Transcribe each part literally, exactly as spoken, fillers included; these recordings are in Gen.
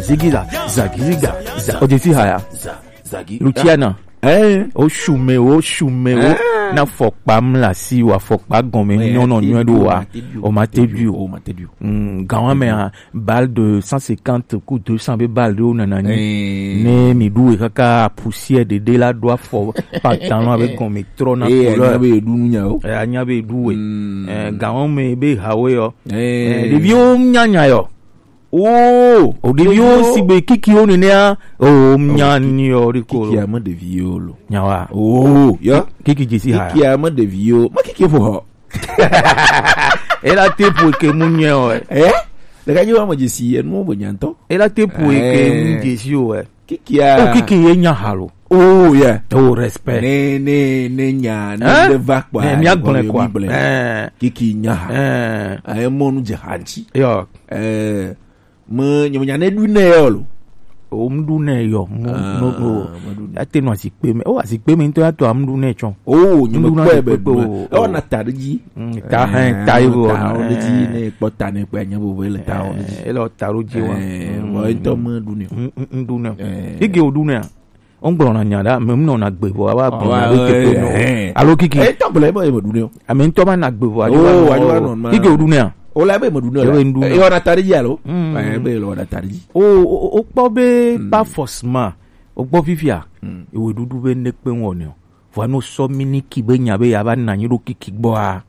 Zigiza, zagiziga, za. O je si haya. Za, zagi. Luciana. Eh. O shume, o shume, o. Eh. Na fɔkpa mla si wa fɔkpa gɔme nyɔnɔ nyɔe do wa. O ma te du o. O ma te du. Mm, gawa me a, balle de cent cinquante ku deux cents be balle de o nana nyi. Eh. Ne mi du e kaka poussière de de la do afɔ pantalon avec gɔme trɔ na couleur. Eh, anya be du nya o. Eh, anya be du we. Mm. Eh, gawa me be hawe yo. Eh. Eh, ɖeviwo nya nya yo. Oh, o ɖeviwo ɖeviwo. Sigbe kikiwo nenea. Oh, nya ni o ɖi ko. Kiki ame ɖeviwo lo. Nyawa. Oh, ya. Kiki jesi ha. Kiki ame ɖeviwo. Ma kiki fo ho. Ela te po ke mu nye o. Eh? Le ka je wa mo jesi e nu bo nyanto. Ela te po ke mu jesi o e. Kiki a. O kiki ye nya ha lo. Oh, yeah. Oh, respect. Ne, ne, ne nya, ne va kwa. Ne mi agblẽ kwa. Eh. Kiki nya ha. Eh. Aye mo nu je hanchi. Yo. Eh. Me nyemenya ne ɖu nɛ yɔ lo. O ŋɖu nɛ yɔ mo. Ah, no no. Meɖu nɛ. Ate nɔ azikpe me. O azikpe me ŋutɔ ya tɔ aŋɖu nɛ tsɔ. O nyemekpɔe be ɖu nɛ. Ewɔ na ta ɖe dzi. Mm, ta hɛn ta yi wɔ ta wɔ ɖe dzi. Ne kpɔ ta ne kpɛ anya vovo ele ta wɔ ɖe dzi. Ele ta ɖo dzi wa. Vɔ ŋutɔ meɖu nɛ o. Ŋɖu nɛ. Ege o ɖu nɛ a. Wongblɔna nya ɖa, ame ŋnɔna gbe vɔ ava gblɔ na ɖo keke nɔ. Alo kiki. Etɔ gblɔ ebe ebe ɖu ne o. Ame ŋutɔ ma na gbe vɔ adzo. Oh, adzo anɔ ma. Kiki o ɖu ne a. O la ebe ebe ɖu ne o. Ebe ɖu ne. Eyɔ na ta ɖe dzi alo. Mm. Ebe le wɔ na ta ɖe dzi. O o o kpɔ be pas forcément. O gbɔ fifia. Ewe ɖuɖu be ne kpe ŋɔ ne o. Vɔ no sɔ miniki be nya be ya va na nyi ɖo kiki gbɔ a.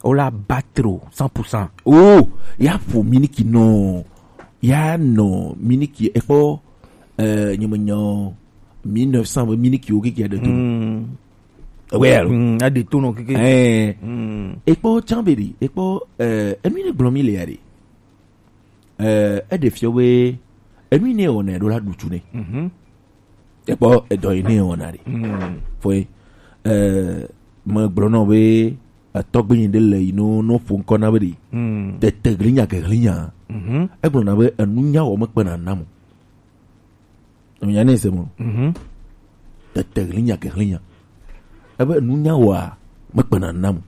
O la battre o cent pour cent. Oh, ya ƒo miniki nɔ, ya nɔ miniki ekpɔ, eh, nyemenya o, mille neuf cents be miniki wo kiki aɖe to. Mm. Ewe alo. Mm, aɖe to nɔ keke. Eh. Mm. Ekpɔ tsan be ɖi, ekpɔ, eh, enu ne gblɔ mi le ya ɖi. Eh, eɖe fiɔ be enu ne wɔna ɖo la ɖu tu ne. Mhm. Ekpɔ edɔ yi ne wɔna ɖi. Mm. Fɔe, eh, megblɔ nɔ be etɔgbe yi ɖe le yi no no ƒo ŋkɔ na be ɖi. Mm. Tete glinya ke glinya. Mhm. Egblɔ na be enu nya wɔ mekpena nam o. Enya ne se mo. Mhm. Tete glinya ke glinya. Ebe enu nya wɔa mekpena nam o.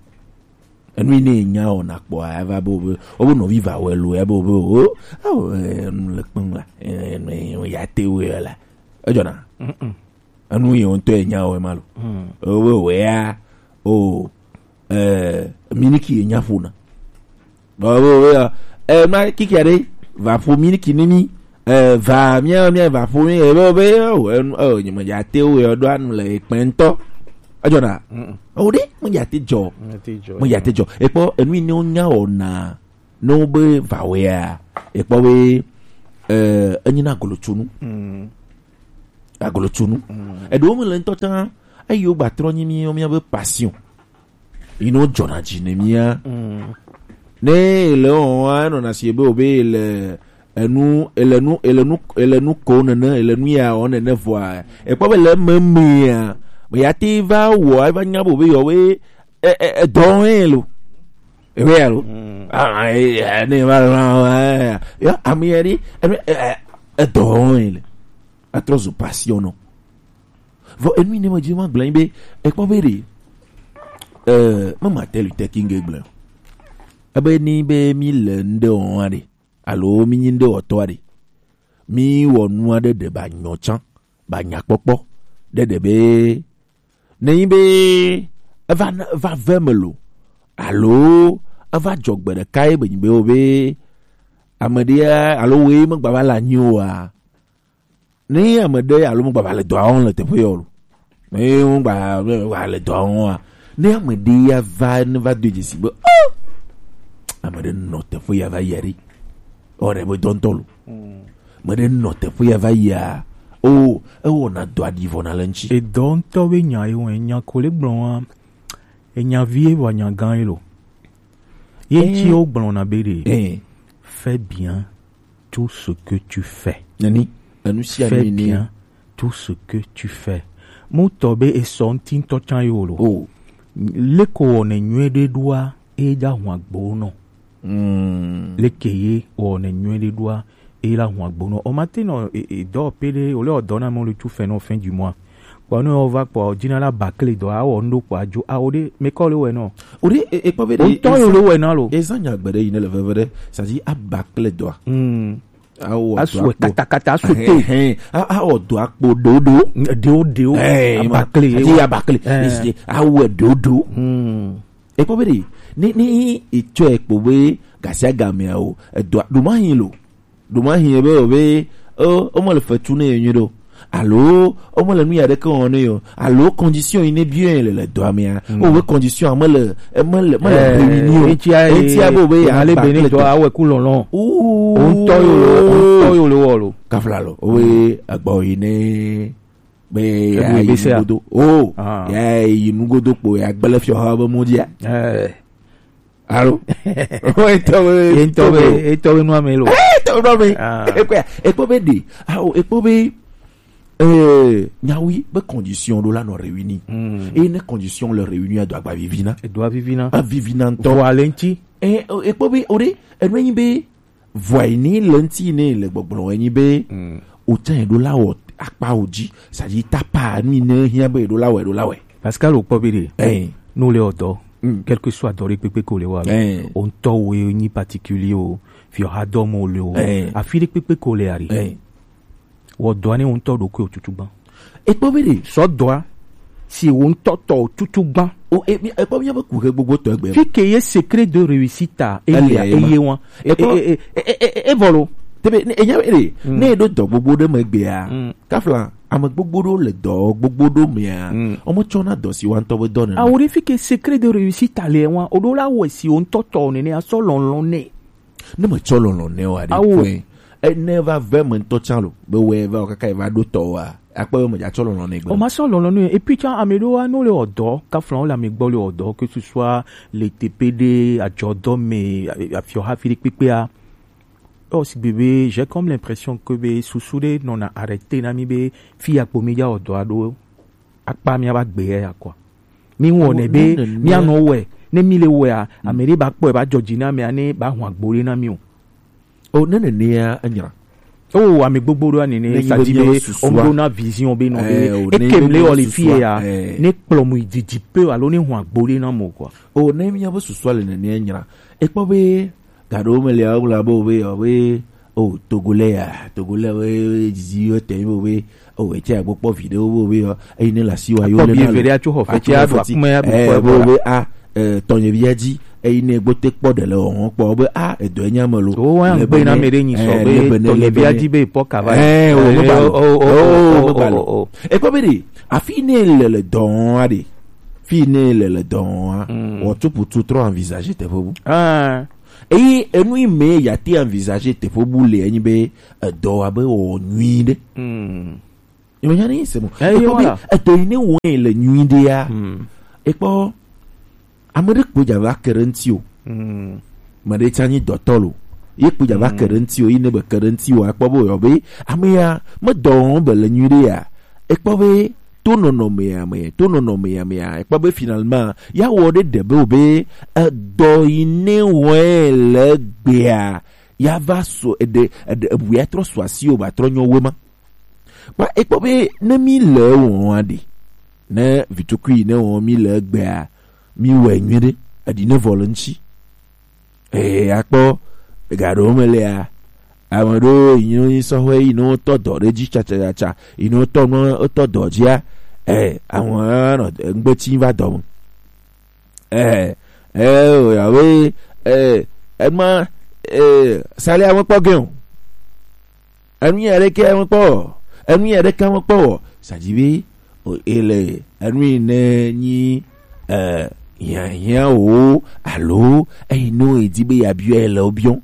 Enu yi ne nya wɔna kpɔa eva be o be o be nɔvi va wɛ lo ya be o be o. Awo enu le kpem la. Enu ya te wɛ la. Edzɔna. Mm-mm. Enu yi ŋutɔ enya wɛ ma lo. Mm. O be wɛ ya o. Eh, miniki ye nya ƒona. Bɔ be o be ya. Eh, ma kiki aɖe va ƒo miniki ne mi. Eh, va mia mia va ƒo mi ebe be o enu o nyemedza te o yɔ ɖo anu le ekpɛ ŋutɔ. Edzɔna. Mm-mm. O ɖe medza te dzɔ. Medza te dzɔ. Ekpɔ enu yi ne wonya wɔna ne wobe vawɛa ekpɔ be eh, enyina agolotsonu. Mm. Agolotsonu. Mm. Eɖewo me le ŋutɔ tã eye wogba trɔ nyi mi miabe passion. Yi ne wodzɔna dzi ne mia. Mm. Ne ele wɔn wa enɔna si ebe obe ele enu ele nu ele nu ele nu ko nene ele nu ya wɔn nene vɔa ekpɔ be le eme mea me ya te va wɔ eva nya be obe yɔ be e e edɔ hɛn lo ebe ya lo. Mm. Ah e e ne va la ya ame ya di ebe e e edɔ hɛn le atrɔ zu passion nɔ. Vɔ enu yi ne me dzi ma gblɔ be ekpɔ be ɖe eh mama tɛlu tɛki ŋge gblɔ ebe ni be mi le ŋɖe wɔn aɖe alo mi nyi ŋɖe wɔtɔ aɖe mi wɔ nu aɖe ɖe ba nyɔ tsã ba nyakpɔkpɔ ɖe ɖe be ne nyi be eva va ve me lo alo eva dzɔ gbe ɖeka ye be nyi be wo be ame ɖe alo woe megba va le anyi oa ne ame ɖe alo megba va le dɔa wɔm le teƒe ya o lo ne megba va le dɔa wɔm oa ne ame ɖe ya va ne va do dzesi be oh ame ɖe nɔ teƒe ya va yi aɖe ewɔ ɖe be dɔntɔ lo me ɖe nɔ teƒe ya va yia o ewɔna dɔ aɖi vɔ na le ŋtsi. Edɔ ŋutɔ be nya ye wɔn enya ko le gblɔ wa enya vie vɔ nya gã ye lo ye ŋtsi wo gblɔna be ɖe fais bien tout ce que tu fais. Nani enu sia fais bien tout ce que tu fais. Mu tɔ be esɔ ŋti ŋutɔ tsã ye wo lo. Oh. Leko wɔ ne nyuie ɖe ɖoa eye dza hun agbo nɔ. Mm. Leke ye wɔ ne nyuie ɖe ɖoa eye la hun agbo nɔ. O ma te nɔ e e dɔ pe ɖe o le ɔ dɔ na mɔ le tu fɛ nɔ fin du mois. Kpɔ ne o va kpɔ o dzi na la bakle dɔ a wɔ ŋɖo kpɔ adzo a o ɖe me kɔ le wɛ nɔ. O ɖe e e kpɔ be ɖe o tɔ yo le wɛ na lo. Ezan nya gbe ɖe yi ne le veve ɖe sadi a bakle dɔa. Mm. Awo asu katakata asu te. Awo do akpo dodo. Deo deo. Abakle. Ati abakle. Awo dodo. Ekpɔ be ɖe, ne, ne etsɔe kpo be gasiagamea o, edɔa, ɖo ma hin lo. Ɖo ma hin be o be, o, o mele fetu ne ye nyuie ɖo. Alo, o mele nu ya ɖeke wɔm ne yo. Alo, condition yi ne biɔ le, le dɔa mea. O be condition a mele, e mele, mele réunir o. Etia, etia be o be ya ale be ne dɔ awɛ ku lɔlɔ. O ŋutɔ yo lo, o ŋutɔ yo lo wɔ lo. Kafla lo, o be egbɔ yi ne be ya yi nugodo. O, ya yi nugodo kpo ya gbele fiɔ ha be mo dia. Alo. Etɔ be, etɔ be, etɔ be nua me lo. Etɔ be nua me. Ekpɔ, ekpɔ be ɖe. Awo, ekpɔ be, eh, nyawi be condition ɖo la nɔ réunir. Eye ne condition le réunir, edo agba vivina. Edo vivina. Avivina ŋutɔ. Vɔ ale ŋuti. Eh, ekpɔ be, o ɖe, enu enyi be, vɔa yi ne le ŋuti ne le gbɔgblɔ enyi be, o tsã eɖo la wɔ akpa o dzi, c'est-à-dire tapa nu yi ne hiã be eɖo la wɔ, eɖo la wɔ. Pascal, o kpɔ be ɖe. Ɛɛ. Ne o le wɔ dɔ, quel que soit dɔ ɖe kpekpe ko le wa, o ŋutɔ wo ye nyi particulier o, fiɔ ha dɔ mo le o, afi ɖe kpekpe ko le ari. Wɔ dɔa ne o ŋutɔ ɖokui o tutu gbã. Ekpɔ be ɖe. Sɔ dɔa si o ŋutɔ tɔ o tutu gbã. O, e, mi, ekpɔ mi be ku he gbogbo tɔ egbe. Fi ke ye secret de réussite a, e, eye wa. Ekpɔ e, e, e, e, e, e vɔ lo. Tebe, ne, enya be ɖe, ne eɖo dɔ gbogbo ɖe me gbea, kafla, ame gbogbo ɖo le dɔ gbogbo ɖo mea, o me tsɔ na dɔ si wa ŋutɔ be dɔ ne. Awo ɖe fi ke secret de réussite a le wa, o ɖo la wɔ si o ŋutɔ tɔ nene asɔ lɔlɔ ne. Ne me tsɔ lɔlɔ ne wa ɖe. Awo. Kɔe. E, ne va ve me ŋutɔ tsã lo, be wɛ va o kaka va ɖo tɔ wa. Akpɔ be me dza tsɔ lɔlɔ ne gbe. O ma sɔ lɔlɔ ne. Et puis tsã ame ɖo wa no le wɔ dɔ, kafla o le ame gbɔ le wɔ dɔ, que ce soit le tepe ɖe, adzɔ dɔ me, a, a, afiɔ hafi ɖe kpekpea. O si gbe be, j'ai comme l'impression que be susu ɖe nɔna arrêter na mi be fi ya kpo mi dza wɔ dɔa ɖo. Akpa mía va gbe ya kɔa. Mi wɔnɛ be mía nɔ wɛ. Ne mi le wɛa, ame ɖe ba kpɔe ba dzɔ dzi na amea ne ba hɔn agbo ɖe na mi o. O ne nenea enyra. O ame gbogbo ɖo nene sa di be o ɖo na vision be nɔ be eke mle o le fi ya ne kplɔ mu didi pe alo ne hɔn agbo ɖe na mo kɔa. O ne mía be susua le nenea enyra. Ekpɔ be Gaɖewo me le awo la be o be, o be, o Togolais ya, Togolais we, we didi yo te mi o be, o etse agbo kpɔ video wo be o, eyi ne la si wa yo le na le. Akpɔ bi eve ɖe atso xɔ fɛtsi aɖo akume ya be o be a, eh, tɔnye bia dzi, eyi ne gbo te kpɔ ɖe le o hɔn kpɔ o be a, edɔ enya me lo. O wa gbe na me ɖe nyi sɔ be tɔnye bia dzi be pɔ kava. Eh, o me ba lo. O, o, o, o, o, o. Ekpɔ be ɖe, afi ne le le dɔn a ɖe, fi ne le le dɔn a, o tu putu trɔ envisager teƒe bu. Ah. Eye enu yi me ya te envisager teƒe bu le enyi be edɔ wa be wɔ nyui ɖe. Mm. Ime nya ne se mo. Eh, ekpɔ be edɔ yi ne wɔ le nyui ɖe ya. Mm. Ekpɔ ame ɖe kpo dza va ke ɖe ŋuti o. Mm. Me ɖe tsa nyi dɔtɔ lo. Ye kpo dza va ke ɖe ŋuti o, yi ne be ke ɖe ŋuti o, akpɔ be o yɔ be ame ya me dɔ wɔm be le nyui ɖe ya. Ekpɔ be to nɔnɔmea me, to nɔnɔmea mea, ekpɔ be finalement, ya wɔ ɖe ɖe be o be edɔ yi ne wɔe le gbea, ya va so eɖe, eɖe, ebu ya trɔ so asi o ba trɔ nyɔ we ma. Kpa ekpɔ be ne mi le wɔn aɖe, ne vitukui ne wɔn mi le gbea, mi wɛ nyui ɖe, eɖi ne vɔ le ŋuti. Ee, akpɔ, ega ɖewo me lea, ame ɖewo yi nɔ nyi sɔhɛ yi nɔ tɔ dɔ ɖe dzi tsatsatsa, yi nɔ tɔ nɔ tɔ dɔ dzia, ee, àwọn nɔ ŋgbetsi va dɔ me. Ee, ee, o ya we, ee, ema, ee, sali ame kpɔ gɛ o. Enu ya ɖeke mekpɔ wɔ. Enu ya ɖeke mekpɔ wɔ. Sa dzi be, o, ele enu yi ne nyi, eh, hiahiã wo alo eyi no edi be ya biɔ ele wo biɔ.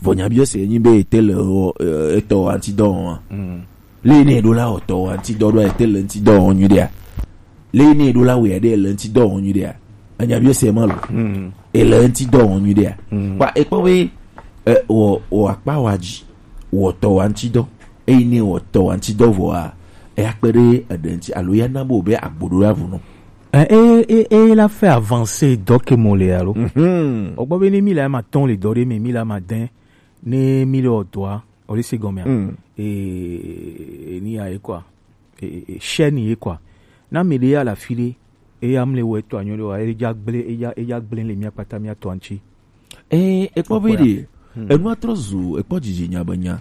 Vɔ nya biɔ se nyi be ete le o, eh, etɔ wa ŋuti dɔ wɔm a. Mm. Le ne ɖo la o tɔ wa ŋuti dɔ ɖo ete le ŋuti dɔ wɔm nyui ɖea. Le yi ne ɖo la wea ɖe ele ŋuti dɔ wɔm nyui ɖea? Enya biɔ se ma lo. Mm. Ele ŋuti dɔ wɔm nyui ɖea? Mm. Kpa ekpɔ be, e, wɔ, wɔ akpa wa dzi, wɔ tɔ wa ŋuti dɔ. Eyi ne wɔ tɔ wa ŋuti dɔ vɔa, eya kpe ɖe eɖe ŋuti alo ya na bo be agbo ɖo ya vu nɔ. E, e, e, e la fait avancer dɔ ke mo le alo. Mhm. O gbɔ be ne mi la ma tɔn le dɔ ɖe me, mi la ma dɛn, ne mi le o dɔa, o le se gɔmea. Mm. E, e, ni ya ye quoi. E, e, e, chaîne ye quoi. Na me ɖe ya le afi ɖe, eya mle wɔ etɔ anyɔ ɖe wa, eya gblẽ, eya, eya gblẽ le mía kpata mía tɔ ŋuti. Ee, ekpɔ be ɖe, hmm, enua trɔ zu, ekpɔ dzidzi nya be nya.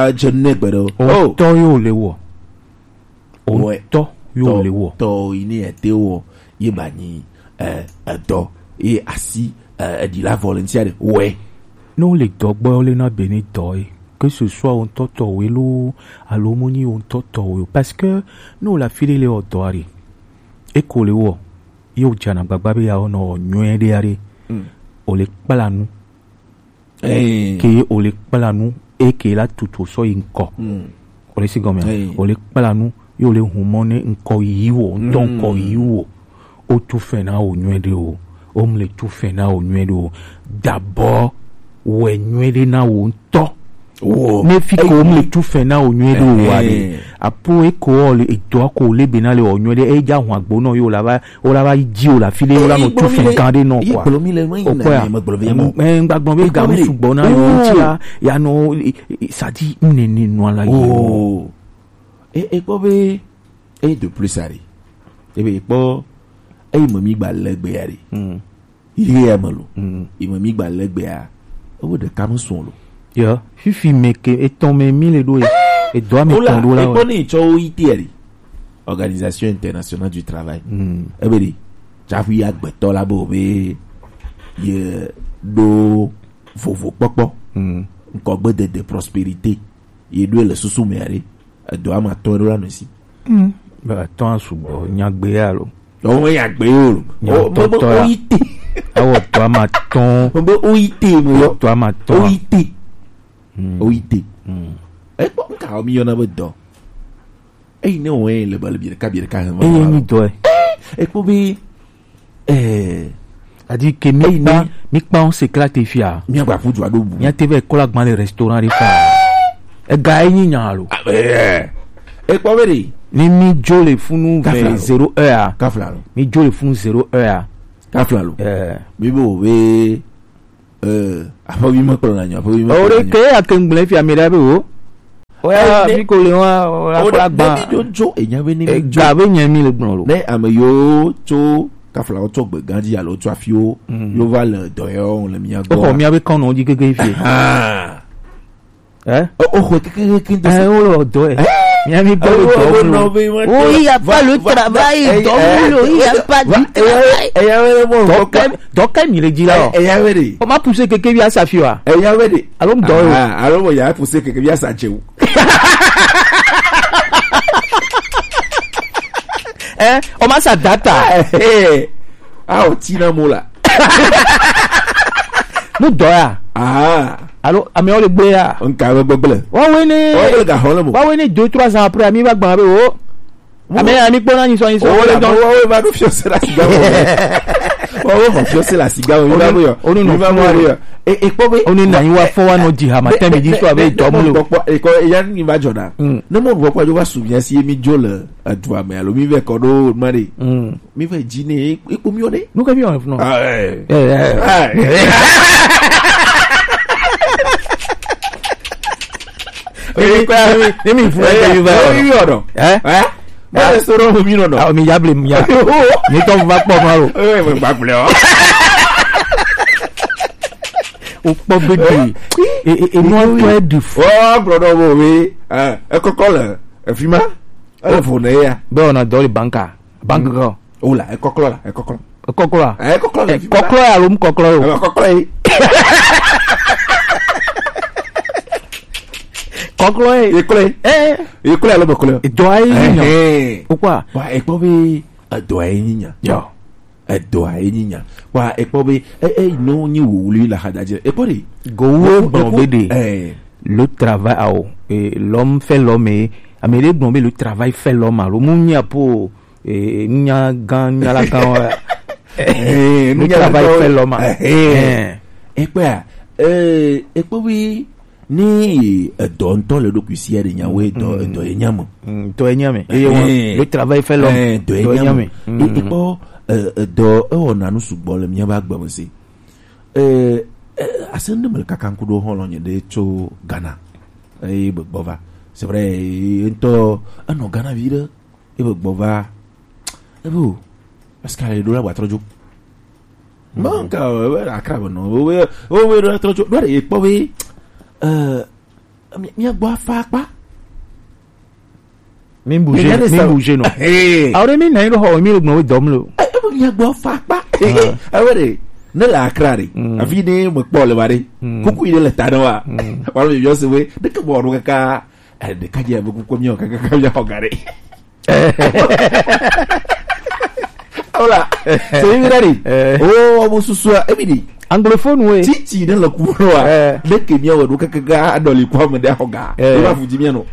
dza dze ne gbe ɖe o. O tɔ yo le wɔ. O tɔ yo le wɔ. Tɔ yi ne ete wɔ ye ba nyi, eh, edɔ ye asi, eh, eɖi la volontiers ɖe wɛ. Ne wo le dɔ gbɔ, wo le na be ne dɔ ye. Que ce soit wo ŋutɔ tɔ wo loo, alo mo nyi wo ŋutɔ tɔ wo. Parce que ne wo le afi ɖe le wɔ dɔ aɖe, eko le wɔ, ye wo dzana gbagba be ya wo nɔ wɔ nyuie ɖe aɖe, o le kpla nu. Ke o le kpla nu, eke la tutu sɔ yi ŋkɔ. O le si gɔme. O le kpla nu, ye o le hun mɔ ne ŋkɔ yi wo, ŋutɔ ŋkɔ yi wo. O tu fɛn na wo nyuie ɖe o. O mu le tu fɛn na wo nyuie ɖe o. D'abord, wɛ nyuie ɖe na wo ŋutɔ. Ne fi ko o mu le tu fɛn na wo nyuie ɖe o wa ɖe. Apo eko o le edɔ ko le be na le o nyuie ɖe, e ja hun agbo nɔ yo la va, o la va yi ji o la fi le o la nɔ tu fɛn kan ɖe nɔ quoi. O kɔ ya. Ŋgbagblɔ be gamu sugbɔ na yo ŋuti ya, ya nɔ, e, e, sadi ne ne nɔ la yi. E, e kpɔ be, e de plus ari. E be kpɔ, e me mi gba le gbe ya ɖe. Yi ya me lo. Yi me mi gba le gbe ya. E wo ɖeka me sɔn lo. Yo, fifi me ke etɔn me mi le ɖo ye. Edɔ me tɔn ɖo la. E kpɔ ne tsɔ wo yi te ya ɖe. Organisation Internationale du Travail. Ebe ɖi, tsaƒe agbetɔ la be o be ye ɖo vovokpɔkpɔ, ŋkɔgbedede, prospérité, ye ɖoe le susu me aɖe, edɔ ama tɔ ɖo la me si. Be atɔ sugbɔ nyagbe ya lo. Ɔwɔ nyagbe yo lo. Nya tɔtɔ ya. Oyi te. Awɔ tɔ ama tɔn. Mo be oyi te mo yɔ. Tɔ ama tɔn. Oyi te. Oyi te. Ekpɔ nka o mi yɔna be dɔ. Eyi ne wɔn le bali bi ɖeka bi ɖeka hɛn. Eye mi dɔ ɛ. Ekpɔ be, eh, adi ke mi kpa, mi kpa on secret te fia. Mi agba ƒu du aɖo bu. Mi ate vɛ kɔla gban le restaurant ɖe fa. Ega enyi nya lo. Ekpɔ be ɖe. Ni mi dzo le funu ve zéro heure a. Kafla lo. Mi dzo le funu zéro heure a. Kafla lo. Eh. Mi bo be Eh, aƒe wi me kplɔ na nyo, aƒe wi me. O ɖe ke ya ke ŋgble fia mi ɖa be o. O ya fi ko le wa, o la kpla gba. Ne mi do dzo, enya be ne mi dzo. Ega be nye mi le gblɔ lo. Ne ame yo tso kafla wo tso gbe gã dzi alo tso afi wo, yo va le dɔ yɔ le mia gbɔ. O xɔ mia be kɔnɔ dzi keke fie. Eh? O, o xɔe kekekeke ŋdɔ se. Eh, wo le dɔ ɛ. Eh? Mia mi gbɔ le dɔ wo lo. Oui, il y a pas le travail, dɔ wo lo, il y a pas du travail. Eya wele mo. Dɔ kɛ, dɔ kɛ mi le dzi la o. Eya wele. O ma pousser keke bi asa fi wa. Eya wele. Alo ŋdɔ yo. Ah, alo mo ya pousser keke bi asa dze o. Eh, o ma sa data. Eh, eh. Ah, o tina mo la. Nu dɔ ya. Ah. Alo, amewo le gbe ya. Nka be gbegble. Wawe ne. Wawe le ga xɔ le mo. Wawe ne deux, trois ans après, ami va gba be o. Ame ya mi kpɔna nyi sɔ nyi sɔ. O le dɔn. Wawe va ɖo fiɔ se la siga wo. Wawe va fiɔ se la siga wo. Mi va mo yɔ. Onu no. Mi va mo yɔ. E, e kpɔ be. Onu na yi wa fɔ wa no di ha ma tɛ mi di so abe dɔ mu lo. Kpɔkpɔ, e kɔ, e ya ni va jɔ na. Ne mo gbɔ kpɔ jo va su mi asi mi jo le. Edua me alo mi vɛ kɔ ɖo ma ɖe. Mi vɛ dzi ne ekpo mi ɖe. Nu ka mi wɔ funu? Ah, eh. Eh, eh. Ah, eh. Ne mi, ne mi, ne mi funu ke mi va. Eh, mi wɔ dɔ. Eh? Eh? Ma le soro mi nɔ dɔ. Ah, mi ya ble mi ya. Mi tɔ va kpɔ ma lo. Eh, mi gba gble o. O kpɔ be de. E, e, e, nua tɔ e de fu. O gblɔ dɔ bo we. Eh, e kɔkɔ le. Efi ma. Ele vo ne ya. Be wona dɔ le banka. Bank ko. O la, ekɔklɔ la, ekɔklɔ. Ekɔklɔ la. Ekɔklɔ la. Ekɔklɔ ya lo mu kɔklɔ yo. Ekɔklɔ ye. Kɔklɔ ye. Ekɔklɔ ye. Eh. Ekɔklɔ ya lo mu kɔklɔ. Edɔ ayi nya. Eh. O kwa. Wa ekpɔ be edɔ ayi nya. Yo. Edɔa ye nyi nya. Kpa ekpɔ be e e no nyi wuli la hadaje. Ekpɔ de. Gowo gbɔn be de. Eh. Le travail ao. E l'homme fait l'homme. Ame de gbɔn be le travail fait l'homme alo mu nya po e nya gan nya la gan wa. Eh, le travail fait l'homme. Eh. Ekpɔ ya. Eh, ekpɔ bi ni edɔ ŋutɔ le ɖokui si ya ɖe nyawo edɔ edɔ ye nya me. Mm, dɔ ye nya me. Eye wɔn le travail fait l'homme. Eh, dɔ ye nya me. E- ekpɔ eh, edɔ ewɔna nu sugbɔ le míaƒe agbe me si. Eh, eh, ase ŋɖe mele kaka ŋku ɖo hɔlɔ̃ nye ɖe tso Ghana. Eye be gbɔ va. C'est vrai, ye ŋutɔ enɔ Ghana vi ɖe. Ebe gbɔ va. Ebe o. Parce que ale ɖo la wa trɔ dzo. Mɔ ka o, ebe la kra be nɔ. Ebe, ebe ɖo la trɔ dzo. Ɖo ɖe ye kpɔ be. Euh, mi- mia gbɔ afa akpa. Mi bouger, mi bouger non. Hey. Awo ɖe mi na yi ɖo xɔ mi le gbɔn we dɔm lo. Eh, ebe mia gbɔ afa akpa. Ebe ɖe. Ne le akra ɖe. Afi ne me kpɔ le ba ɖe. Kuku yi ɖe le ta ɖe wa. Wala mi yɔ se we. Ɖeke bɔ ɖo kaka. Eh, ɖeka dze be kuku mi o kaka kaka mi xɔ ga ɖe. Voilà. C'est une rari. Eh. Oh, mon souci, ebi di. Anglophone we. Titi ne le ku wa. Eh. Ɖeke mi o ɖo kaka ga adɔli kwa me de xɔ ga. Eh. E ba fu di mi no.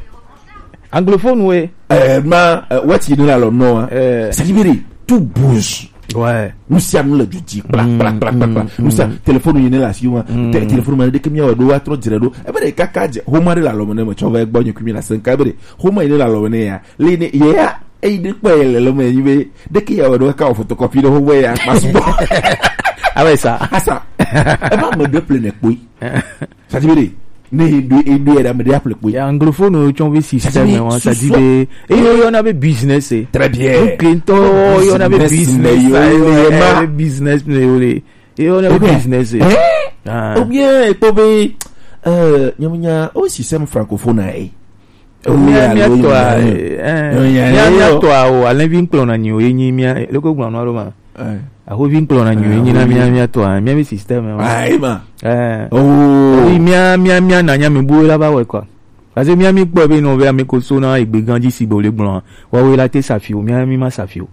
Anglophone we. Eh, ma, eh, what you know la no. Eh. C'est libéré. Tout bouge. Ouais. Nu sia nu le du dzi kpla kpla kpla kpla kpla. Nu sia telefonu yi ne le asi wa. Te- Telefonu ma ɖeke mi o ɖo wa trɔ dzre ɖo. Ebe ɖe kaka dze. Homa ɖe le alɔme ne me tsɔ va gbɔ nye kui mi la se nka ebe ɖe. Homa yi ne le alɔme ne ya. Le ne ye ya. Eyi ɖe kpɔ ye le lɔme yi be. Ɖeke ya o ɖo ka o photocopy ɖe homa ya kpa sugbɔ. Abe sa. Asa. Ebe ame ɖe ple ne kpoi. Ça dit be ne edo edo ya me de apple kpoi. Ya anglophone o tsɔn be système wa, ça dit be e yo yo na be business e. Très bien. Nous clientons yo na be business. Yo na be business ne yo le. Yo na be business e. Ou bien e to be euh nyamunya o système francophone e. Mia mia tɔ a, eh, mia mia tɔ a o, alɛnvi ŋkplɔ na nyi o, enyi mia, loko gblɔ nɔ alo ma. Ahovi ŋkplɔ na nyi o, enyi na mia mia tɔ a, mia mi système ma. Ayi ma. Eh. Oh. Mia mia mia na nya mi bu la ba wɛ kɔ. Parce que mia mi kpɔ be nɔ be ame ko so na egbe ganji si be o le gblɔ. Wa we la te safi o, mia mi ma safi o.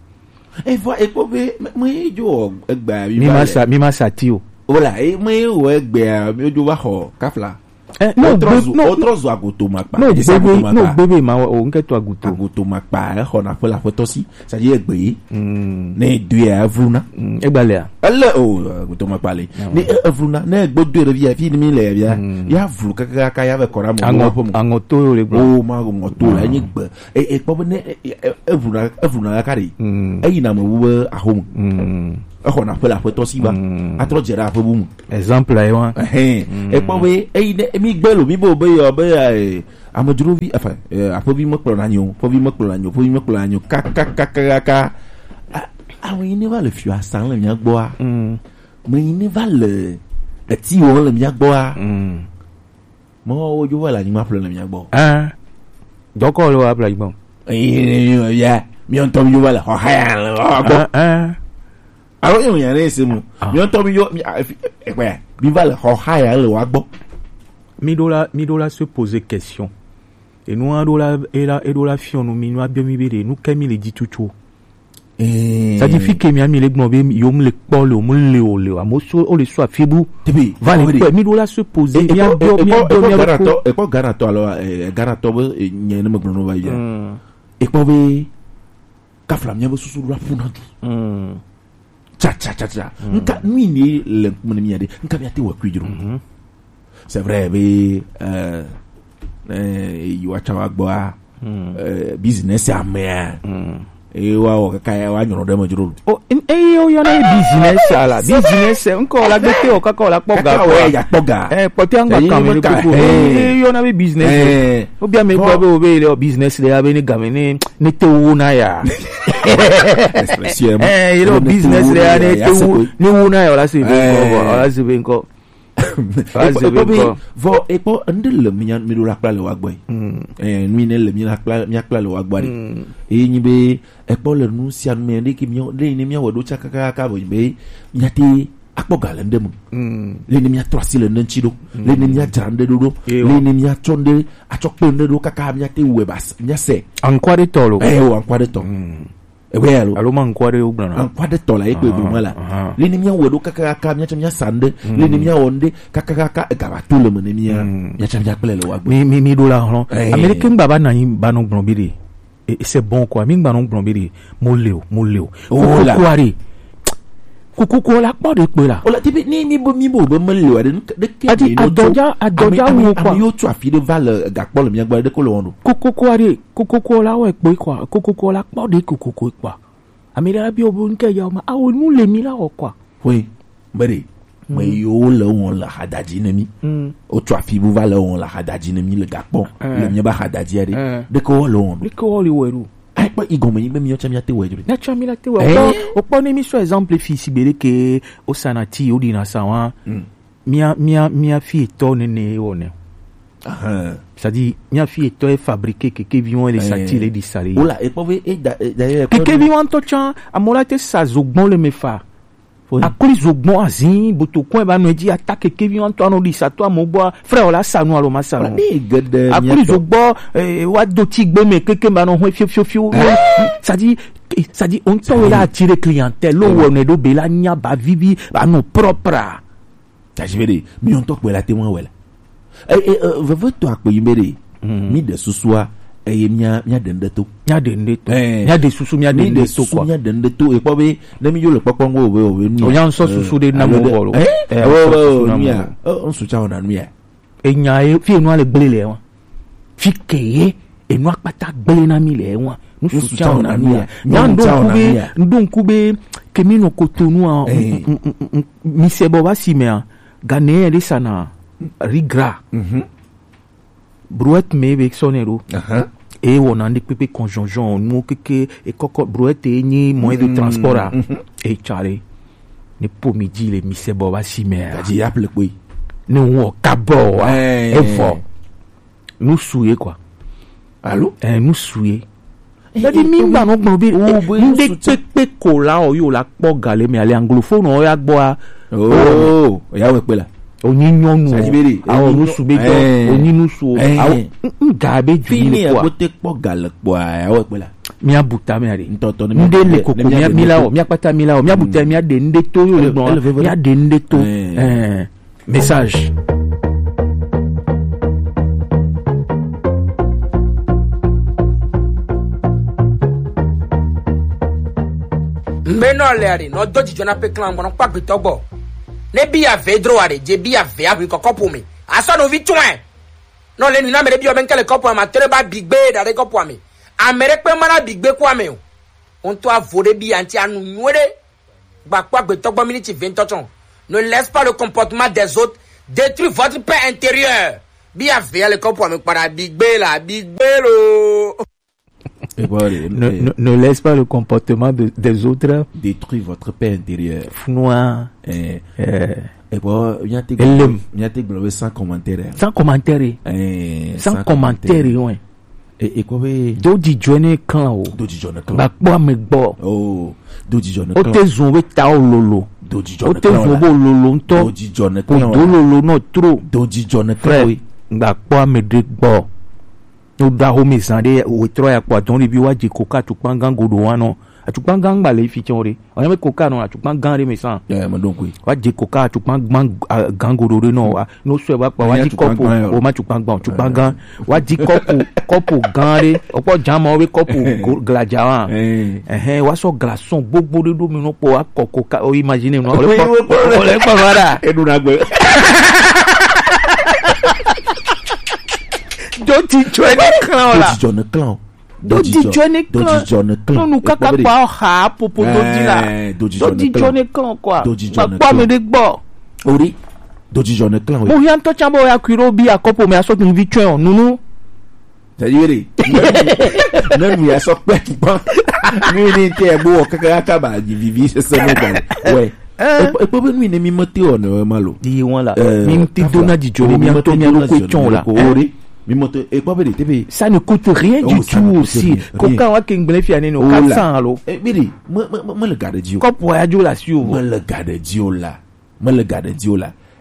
Evɔ ekpɔ be me jo egbe mi ma sa mi ma sa ti o. Ola e me wo egbe mi jo va xɔ kafla. Eh, no, wotrɔ gbe- zu no, wotrɔ zu agotomakpa. No, esa gbebe agotomakpa. No, gbebe ma o nke to agoto. Agotomakpa exɔna ƒe le aƒetɔ si, c'est-à-dire egbe yi. Ne edoe ya evluna. Egbalea. Ele o agotomakpa le. Ne e- evluna ne egbe doe ɖe via fi mi le via. Ya vlu kakaka ya ve kɔra mo. Aŋɔ ƒe mo. Aŋɔ to yo le gblɔ. O ma ŋɔ to la enyi gbe. E e kpɔ be ne e- e- evluna evluna kaka ɖe. Eyi na me wu be ahome. Exɔna ƒe le aƒetɔ si va. Atrɔ dze ɖe aƒe bu mu. Exemple ayi wa. Ehɛn. Ekpɔ be eyi ne mi gbe lo mi bo be yɔ be eh, amedzrovi enfin eh, aƒevi mekplɔ na nyo, ƒevi mekplɔ na nyo, ƒevi mekplɔ na nyo kakakakaka. Ame yi ne va le fio asan le mia gbɔa. Me yi ne va le eti wɔm le mia gbɔa. Mɔ wo dzo va le anyigba ƒle le mia gbɔ. Ah. Dɔkɔ le wa ƒle anyigba. Eyi ne mi ya mi ŋutɔ mi dzo va le xɔxa ya le wa gbɔ. Ah. Alo yɔ nya ɖe se mu. Miɔ tɔ mi yɔ mi ekpɛ mi va le xɔ haya le wa gbɔ. Mi ɖo la mi ɖo la se poser question. Enua ɖo la ela eɖo la fiɔ nu mi nua biɔ mi be ɖe nu ke mi le dzi tutu. Ça dit fi ke mi ami le gbɔn be yo mu le kpɔ le o mu le o le o amo so o le so afi bu. Tebe va le kpɛ mi ɖo la se poser mi abiɔ mi abiɔ mi abiɔ. Ekpɔ Ghana tɔ alo Ghana tɔ be nye ne me gblɔ no va yi. Ekpɔ be kafla miabe susu ɖo la ƒuna du. Tsa tsa tsa tsa. Nka nu yi ne le ŋkume ne mia ɖe nka mia te wɔ kui dzro. C'est vrai be eh eh yi wa tsa wa gbɔa. Eh, business amea. Eye wa wɔ kaka ya wa nyɔnɔ ɖe me dzro. O eye o yɔ na business ala business ŋkɔ la gbete o kaka o la kpɔ ga kaka wa ya kpɔ ga. Eh kpɔtɛ ŋgba kame ɖe koko eye yɔ na be business. O bia me gbɔ be o be le business le abe ne game ne ne te wo na ya. Expression. Eh, you know, business le ya ne te wo ne wo na ya la se be ko la se be ko. Ekpɔ be vɔ ekpɔ ŋɖe le mia mi ɖo la kpla le wa gbɔ. Eh, mi ne le mi la kpla mi kpla le wa gbɔ. Eye nyi be ekpɔ le nu sia nu me ɖe ke mi ɖe ne mi wɔ ɖo tsakakaka be mi ya te akpɔ ga le ŋɖe me. Le ne mia trɔ asi le ŋɖe ŋuti ɖo. Le ne mia dzra ŋɖe ɖo ɖo. Le ne mia tsɔ ŋɖe atsɔ kpe ŋɖe ɖo kaka mia te wɛ ba mia se. Ankwa ɖe tɔ lo. Eh, o ankwa ɖe tɔ. Ebe alo. Alo ma ŋkɔ ɖe wo gblɔna. Ŋkɔ ɖe tɔ la ye kpe gblɔ ma la. Aha. Lini mía wɔ ɖo kakakaka, mía tsɛ mía sa ŋɖe. Lini mía wɔ ŋɖe kakakaka, ega va to le me ne mía. Mm. Mía tsɛ mía kple le wa gbe. Mi, mi, mi ɖo la hlɔn. Eh. Ame ɖeke ŋgba va na anyi ba nɔ gblɔ bi ɖe. E, e, c'est bon quoi. Mi ŋgba nɔ gblɔ bi ɖe. Mo le o, mo le o. Oh, la. Kokoko aɖe. Kokoko la kpɔ ɖe kpe la. O la, ti bi, ni mi bo, mi bo be me le o aɖe, ɖe ke. Adi, ɖe no tso. Adɔdza, adɔdza ame, wo ame, quoi. Ame yo tso afi ɖe va le gakpɔ le mía gbɔ ɖe ko le wɔn ɖo. Kokoko aɖe. Kokoko la wɔ ekpɔe kɔa, kokoko la kpɔ ɖe kokoko kpɔa. Ame ɖe la biɔ bo ŋke ya ma, awo nu le mi la wɔ kɔa. Hoe, be ɖe, me yiwo le wɔn le hadadzi ne mi. Mm. Wotsɔ afi bu va le wɔn le hadadzi ne mi le gakpɔ. Eh. Le mi ba hadadzi aɖe. Eh. Ɖeke wɔ le wɔn ɖo. Ɖeke wɔ le wɔ ɖo. Ai, kpɔ igɔme yi be mi tsɔ mi ate wɔ ɖo. Na tsɔ mi la te wɔ. Eh. Kpɔ, wokpɔ ne mi sɔ exemple fi si be ɖeke, wosana ti, woɖina sa wa. Mm. Mía, mía, mía fi etɔ nene ye wɔnɛ. Ahan. C'est-à-dire, mía fi etɔ ye fabriquer kekevi wɔn le sati le di sa le. Ola, ekpɔ be, e da, e da ye, ekpɔ kekevi wɔn tɔ tsan, amola te sa zogbɔn le me fa. Oui. Akli zogbɔn azin, botokɔn ba nɔ dzi ata kekevi wɔn tɔ anɔ di sa tɔ amo gbɔ, frère, ola sa nu alo ma sa nu. Ola, ne geɖe akli zogbɔ, eh, wa do ti gbe me keke ba nɔ hɔn fio, fio, fio. Eh? C'est-à-dire, eh, c'est-à-dire, on tɔ la attirer clientèle, lo wɔ ne do be la nya ba vivi, ba nɔ propre. Tasi be ɖe, mi ŋutɔ kpɔe la te ŋu awɔe la. E, e, e, veve tɔ akpe yi be ɖe, mi ɖe susua, eye mia, mia ɖe ŋɖe to. Mia ɖe ŋɖe to. Eh. Mia ɖe susu, mia ɖe ŋɖe to, quoi. Mia ɖe ŋɖe to. Ekpɔ be, ne mi yo le kpɔkpɔ ŋgɔ, obe, obe, nu ya. Onya ŋsɔ susu ɖe na mo bɔ lo. Eh, eh, eh, ŋsu tsa wɔna nu ya. Enya ye, fi enua le gble le wa. Fi ke ye, enua kpata gble na mi le wa. Nu su tsa wɔna nu ya. Nya ŋɖo ŋku be, ŋɖo ŋku be, ke mi nɔ Cotonou a, mi se bɔ va si me a, Ghanéen ɖe sa na riz gras. Brouette me be sɔ nɛ ɖo. Ahan. E wɔna ŋɖe kpekpe kɔnjɔnjɔn, nuwo keke, e kɔkɔ, brouette e nyi moyen de transport a. E tsa ɖe. Ne po mi dzi le mi se bɔ va si me a. Gadzi ya ple kpoi. Ne wɔ kabɔ wa. Eh. E vɔ. Nu su ye, quoi. Alo? Eh, nu su ye. Eh, c'est-à-dire, eh, mi eh, ŋgba nɔ gblɔ be, oh, eh, bo ŋɖe su tsa. Kpekpe ko la o, yo la kpɔ ga le me, ale anglophone o ya gbɔ a. Oh, ya wɔ kpe la. O nyi nyɔnu o. C'est-à-dire, be, awo, eh, nu su be dɔ, eh, o nyi nu su o. Eh. Awo, n-, n ga be ju. Fini ni, quoi. Agote kpɔ ga le kpɔ a, ya wɔ kpe la. Mia bu ta me a ɖe. Ŋtɔtɔ ne mia, ŋɖe le koko, ne mia, mia ɖe mi la ŋɖe o, to. Mia kpata mi la o, mia bu ta, mia ɖe ŋɖe to, yo le gbɔ, ele, ele veve ɖe. Mia ɖe ŋɖe to. Eh. Eh. Message. Ŋgbe nɔ le aɖe, nɔ do dzidzɔ na pe klan gbɔ, nɔ kpɔ agbetɔ gbɔ. Ne bi ya ve dro aɖe, dze bi ya ve aʋi kɔkɔ ƒome. Asɔ no vi tsɔe. Nɔ le nu na ame ɖe bi ɔ be ŋke le kɔpua me, ate ɖe ba bi gbe da ɖe kɔpua me. Ame ɖe kpe ma na bi gbe kua me o. Ŋutɔ avo ɖe bi ya ŋti anu nyuie ɖe. Gba kpɔ agbetɔ gbɔ miniti ve ŋtɔ tsɔ. Ne laisse pas le comportement des autres détruire votre paix intérieure. Bi avea le kɔpua me kpaɖa, bi gbe la, bi gbe lo. Et bon, allez, ne, eh, ne, ne laisse pas le comportement de, des autres détruire votre paix intérieure. Fnua. Eh, eh. Et bon, mia te gblɔ be sans commentaire. Sans commentaire. Eh, sans commentaire, ouais. E, e kpɔ be. Do dzidzɔ ne klan o. Do dzidzɔ ne klan. Gba kpɔ ame gbɔ. Oh, do dzidzɔ ne klan. O te zun be ta o lolo. Do dzidzɔ ne klan. O te zun be o lolo ŋutɔ. Do dzidzɔ ne klan. O do lolo nɔ tro. Do dzidzɔ ne klan. Frère, gba kpɔ ame ɖe gbɔ. O da ho me zan ɖe, o trɔ ya kpɔ adɔn ɖe bi wa dze koka tukpan gan godo wa nɔ. Atukpa gã ŋgba le fi tsɛ o ɖe. Wònye be koka nɔ atukpa gã ɖe me sã. Ɛ, meɖo ŋkui. Woadze koka atukpa gã, a, gã goɖo ɖe nɔ wa. Ne wosɔe va kpa, woadi kɔpu, woma tukpa gã o, tukpa gã. Woadi kɔpu, kɔpu gã ɖe. Wokpɔ dzama wo be kɔpu go-, gladza wa. Ɛ. Ɛhɛn, woasɔ glaçon gbogbo ɖe ɖo mi nɔ kpɔ, woakɔ koka, o imagine nɔ, wole kpɔ, wole kpɔ va ɖa. Eɖuna gbe. Do ti tsɔe ne klã o la. Do dzidzɔ ne klã o. Do dzidzɔ ne klã. Do dzidzɔ ne klã. Nɔnu kaka kpa ha popo do dzi la. Ɛɛ, do dzidzɔ ne klã. Do dzidzɔ ne klã kɔa. Do dzidzɔ ne klã. Kpɔ ame ɖe gbɔ. Ori. Do dzidzɔ ne klã o. Mo hia ŋutɔ tsa be o ya kui ɖo bi akɔpo me asɔ tun vi tsɔe o. Nunu. Tadi wele. Ne nu ya sɔ kpɛ tukpa. Mi ni te bo kaka kaka ba vivi sese me ga. Ouais. Ɛ. Ekpɔ, ekpɔ be nu yi ne mi mete wɔ ne ma lo. Yi wɔn la. Ɛ, mi ti do na dzidzɔ ni mi to mi lo ko tsɔn la. Ori. Mi mete, ekpɔ be de te be. Ça ne coûte rien du tout aussi. Koka wa ke ngble fia ne no quatre cents alo. E be de, me, me, me, me le ga de dzi o. Kɔpu ya dzo la si o. Me le ga de dzi o la. Me le ga de dzi o la.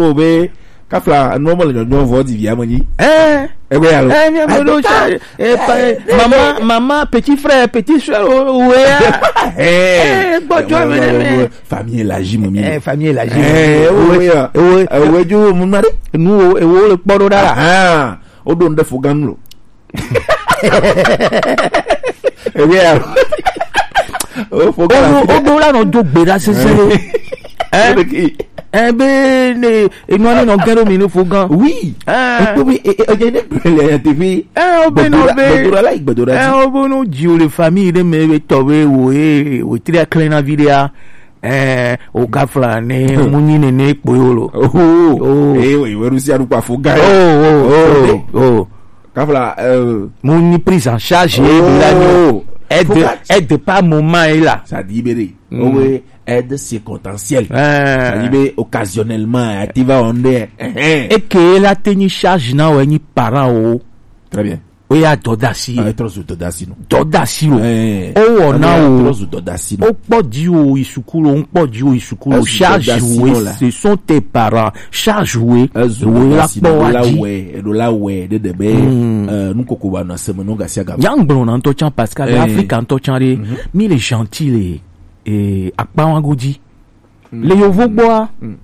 bo be, kafla, no mo le nyɔnyɔ vɔ di via mo nyi. Eh. Ebe ya lo. Eh, mi amo do cha. Eh, pa, eh, mama, mama, petit frère, petit sœur, o, o, ya. Eh, gbɔjɔ mi ne mi. Famille élargie mo mi. Eh, famille élargie. Eh, o, ya. O, eh, o, jo mo mari. Nu o, e wo le kpɔ do da. Ah, o do nde fo gan lo. Ebe ya. O fo gan. O do la no do gbe da sese. Eh. Eh, be ne, e no ni no gero mi no fo gan. Oui. Ah. E ko bi, e, e, e, ne brele ya te bi. Eh, o be no be. Gbedora la, gbedora. Eh, o bo no ji o le famille de me be to be wo, eh, o tri a clean na vidéo. Eh, o kafla ne, mu nyi ne ne kpo yo lo. Oh. Oh. Eh, oui, we rusi adu kwa fo gan. Oh, oh, oh, oh. Kafla, euh, mu nyi prise en charge, oh, de la nuit. Aide, aide par moment, et là. Ça dit, béré. Mm. Oh, oui, aide circonstancielle. Eh. Ça dit, bé, occasionnellement, eh, tu vas en air. Eh, eh. Et que la tenue charge na, ouais, ni parent, oh. Très bien. O ya dɔdasi. Ah, trɔ zu dɔdasi no. Dɔdasi lo. Eh. O wɔ na o. Trɔ zu dɔdasi no. O kpɔ di o yi sukulu, o kpɔ di o yi sukulu. Charge wo, ce sont tes parents. Charge wo. Wo la kpɔ wa di. Edo la wɛ, edo la wɛ, de de be. Hmm. Euh, nu koko ba na seme no gasia ga. Nyangblɔ na ntɔ chan Pascal, eh. Afrika ntɔ chan de. Mhm. Mi le gentil le. Eh, akpa wa go di. Mm. Le yovo gbɔa. Mm.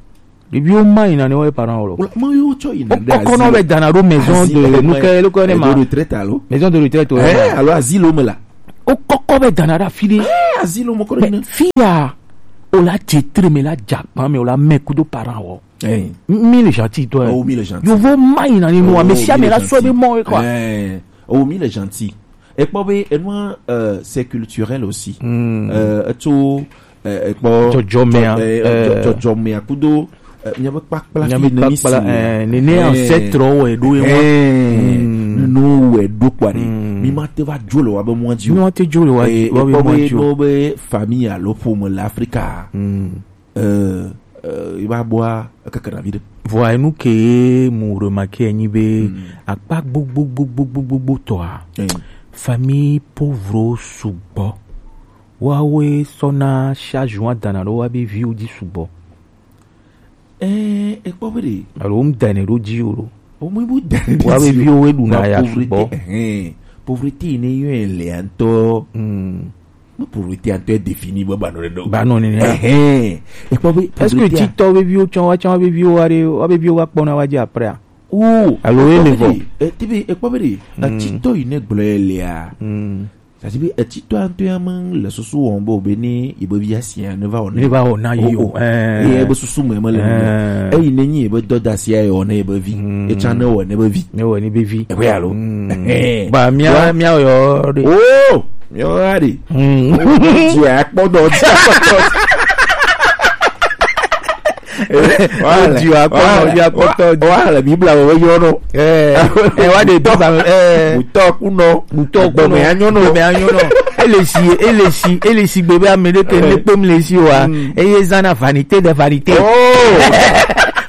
Ɖeviwo ma yina ne wo parents wo lo. Wala, ma yo tsɔ yina. O kɔkɔ nɔ be dana ɖo maison de, nu ke, le ko ne ma. Maison de retraite alo? Maison de retraite o. Eh, alo asile me la. O kɔkɔ be dana ɖo afi ɖe. Eh, asile me kɔ ɖe. Fi ya, o la tsi tre me la dza kpa me, o la mɛ kudo parents wo. Eh. Mi le gentil toi. Oh, mi le gentil. Yovo ma yina ni nu, oh, ame sia ame la sɔ be mɔ, quoi. Eh. Oh, mi le gentil. Ekpɔ be enua, euh, c'est culturel aussi. Hmm. Euh, etso, euh, ekpɔ jɔjɔmea, jɔ-, euh, jɔ-, euh, jɔjɔmea kudo, euh, miabe kpakpla, miabe fi neni kpakpla, si, eh, nene, eh, ancêtre wo wɛ ɖo ye mɔ. Eh, hmm. Nunu wɛ ɖo kpɔ ɖe. Hmm. Mi ma te va dzo le wa be mɔ dzi o. Mi ma te dzo le wa, eh, wa be ekpɔ mɔ be dzi o. No be famille alo ƒome le Afrika. Hmm. Euh, euh, i va bɔa, ekeke na vi ɖe. Vɔa enu ke mu remarquer enyi be, mm, akpa gbogbogbogbogbogbo tɔa, eh, famille pauvre sugbɔ. Woawoe sɔna charge wa dana ɖo wa be viwo dzi sugbɔ. Eh, ekpɔ be ɖe. Alo ŋdane ɖo dzi o ɖo. Omi bu dane ɖo dzi o. Wa be viwo we ɖuna ya sugbɔ. Pauvreté, eh, pauvreté ne yɔe le ŋutɔ. Mm. Me pauvreté ŋutɔ défini be ba nɔ ɖe ɖo. Ba nɔ nene. Ehɛn. Ekpɔ be est-ce que pauvreté a titɔ be viwo tsɔ wa tsɔ be viwo wa ɖe, wa be viwo wa kpɔna wa dzi après a? Oh, alo ye le vɔ. Eh, ti be ekpɔ be ɖe. Mm. Titɔ yi ne gblɔ ye lea. Mm. Sasi be etitɔ ŋutɔ ya me le susu wɔm be o be ne yi be via sia ne va wɔ ne. Ne va wɔ na yi o. Oh, oh. Eh. Eye be susu me me le nene. Eh. Eyi ne nyi yi be dɔdasi ya wɔ ne yi be vi. Mm. Etsa ne wɔ ne be vi. Ne wɔ ne be vi. Ebe alo. Mm. Eh. Ba mia, wa mia yɔ de. Oh, mia yɔ de. Mm. Ti ya kpɔ dɔ, ti ya kpɔ dɔ. Wa le, wa le, wa le, Biblia wo yɔ nɔ. Eh, eh, wa de to ba, eh. Butɔ kunɔ. Butɔ kunɔ. Gbɔmɛ anyɔ nɔ. Gbɔmɛ anyɔ nɔ. Ele si, ele si, ele si gbe be ame ɖe ke ne kpem le si wa. Eye zana vanité de vanité. Oh.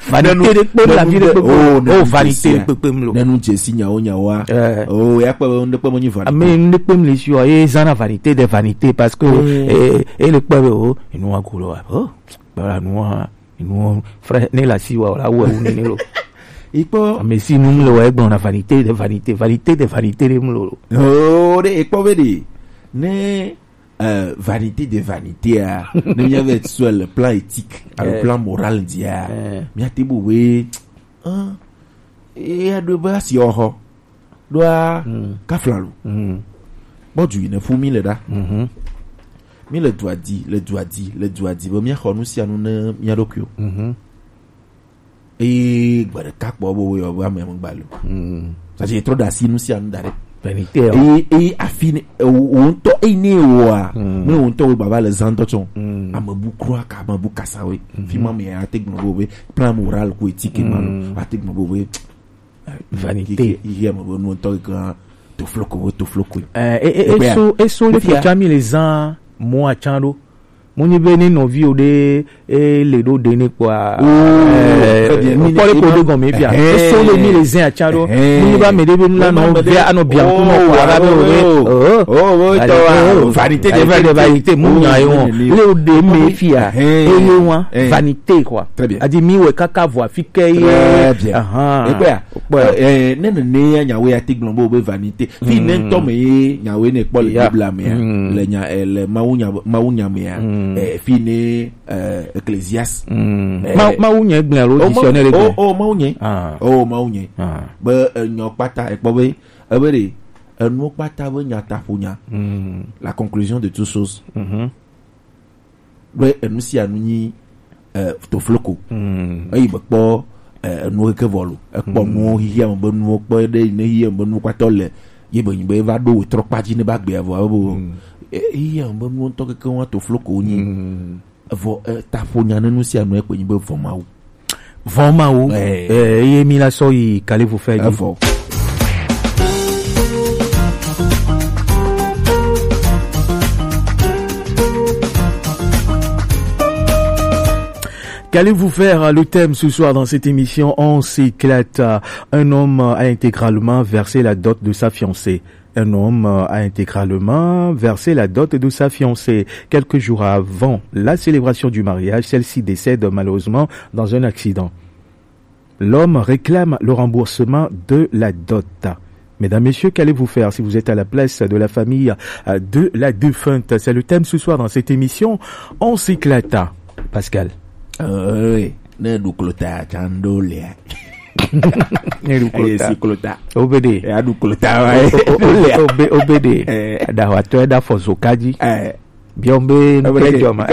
Vanité de kpem la vie de kpekpe. Oh, vanité de kpekpe mlo. Nenu jesi nyawo nyawo a. Eh. Oh, ya kpe be ŋɖe kpe mo nyi vanité. Ame ŋɖe kpem le si wa. Eye zana vanité de vanité parce que, eh, ele kpe be, oh, enu wa kulo wa. Oh, voilà, nu wa. Nuwo, frère, ne la si wa, la wɔ wu nene lo. Ikpɔ. Ame si nu mle wa egblɔ na vanité de vanité, vanité de vanité de mlo lo. Oh, de ikpɔ be de. Ne, euh, vanité de vanité a, ne mia ve sur le plan éthique, à le plan moral dia. Eh. Mia te bo we, hein, e a do ba si oho. Ɖoa kafla lo. Kpɔ du yi ne fu mi le ɖa. Mi le dua di, le dua di, le dua di be mia xɔ nu sia nu ne mia ɖokuiwo. Eye gbe ɖeka kpɔ be woyɔ be ame megba le o. Sasi etrɔ ɖe asi nu sia nu da ɖe. Vanité, eye, eye afi ne, ewo, wo ŋutɔ, eyi ne ewoa, ne wo ŋutɔ wo gbava le zan tɔ tsɔ. Ame bu kura ka, ame bu kasa we. Fi ma me ya te gblɔ be, plan moral ko éthique ma lo. Ate gblɔ be, vanité. Yi, yi, yi, ame be nu ŋutɔ yi ke tofloko, wo tofloko. Eh, e, e, Ekpea? Eso, eso le Ekpea? Fia mi le zan mo atsan ɖo. Mo nyi be ne nɔvi o ɖe, e le ɖo ɖe ne kpɔa. Oh, eh, très bien. Kpɔ le ko ɖe gɔme fia. Eh. Eso le mi le zan atsan ɖo. Eh. Mo nyi ba me ɖe be nu la nɔ via anɔ bia ŋku nɔ kpɔa la be o ɖe. Oh, oh, oh, vanité de vanité. Mo nya ye wɔn. Le o ɖe me fia. Eh. Eye wɔn. Eh. Vanité quoi. Très bien. Adi mi wɛ kaka vɔ afi ke ye. Très bien. Ahan. Ekpea? Kpɔe. Eh, eh, ne nene ya nyawo ya te gblɔ be o be vanité. Fi ne ŋutɔ me ye nyawo ne kpɔ le Biblia mea, le nya, eh, le Mawu nya, Mawu nya mea, eh, fi ne, eh, Ecclésiaste. Eh, Ma-, Mawu nya gblẽ alo oh, dictionnaire Mawu, gblẽ? Oh, oh, Mawu nya. Ah. Oh, Mawu nya. Ah. Be enyɔ kpata, ekpɔ be, ebe ɖe, enuwo kpata be nya ta ƒo nya. La conclusion de toute chose. Be enu sia nu nyi, eh, tofloko. Eyi be kpɔ, eh, enu keke vɔ lo. Ekpɔ nuwo xixia me be nuwo kpɔ ɖe yi ne xixia me be nuwo kpatɔ le. Ye be nyi be eva ɖo wetrɔ kpa dzi ne ba gbea vɔ abo. Eh, xixia me be nuwo ŋutɔ keke wa tofloko nyi. Vɔ, eh, taƒo nya ne nu sia nu ekpe nyi be vɔ Mawu. Vɔ Mawu. Eh. Eh, eye mi la sɔ yi kalifu fɛ dzi. Evɔ. Qu'allez-vous faire, le thème ce soir dans cette émission ? On s'éclate. Un homme a intégralement versé la dot de sa fiancée. Un homme a intégralement versé la dot de sa fiancée. Quelques jours avant la célébration du mariage, celle-ci décède malheureusement dans un accident. L'homme réclame le remboursement de la dot. Mesdames, Messieurs, qu'allez-vous faire si vous êtes à la place de la famille, euh, de la défunte ? C'est le thème ce soir dans cette émission. On s'éclata. Pascal. Euh, oui. Ne ɖu klota, tsando lea. Ne ɖu klota. Eye si klota. Obede. Ya ɖu klota wa. O, o, o, obe-, obede. Eh. Ɖawatɔ ya ɖa fɔ zo kadzi. Eh. Biɔn be nu ke dzɔ ma.